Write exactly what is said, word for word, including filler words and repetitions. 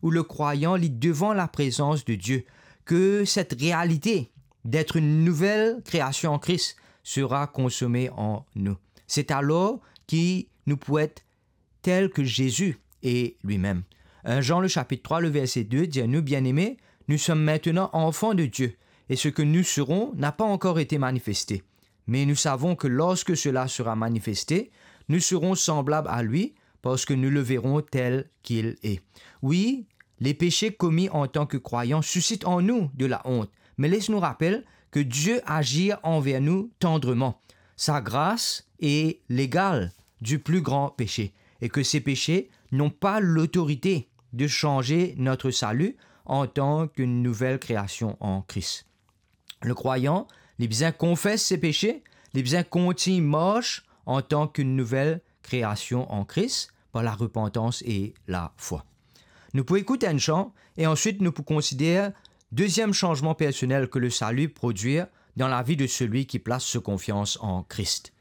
où le croyant lit devant la présence de Dieu, que cette réalité d'être une nouvelle création en Christ sera consommée en nous. C'est alors que nous pouvons être tels que Jésus est lui-même. un Jean le chapitre trois, le verset deux dit à nous, bien-aimés, nous sommes maintenant enfants de Dieu, et ce que nous serons n'a pas encore été manifesté. Mais nous savons que lorsque cela sera manifesté, nous serons semblables à lui, parce que nous le verrons tel qu'il est. Oui, les péchés commis en tant que croyants suscitent en nous de la honte, mais laisse-nous rappeler que Dieu agit envers nous tendrement. Sa grâce est l'égale du plus grand péché, et que ces péchés n'ont pas l'autorité de changer notre salut en tant qu'une nouvelle création en Christ. Le croyant, li bizin confess ses péchés, li bizin kontign mars en tant qu'une nouvelle création en Christ par la repentance et la foi. Nou pou ekout enn chan e answit nou pou konsider deziem sanzman personel que le salut produit dans la vie de celui qui place sa confiance en Christ.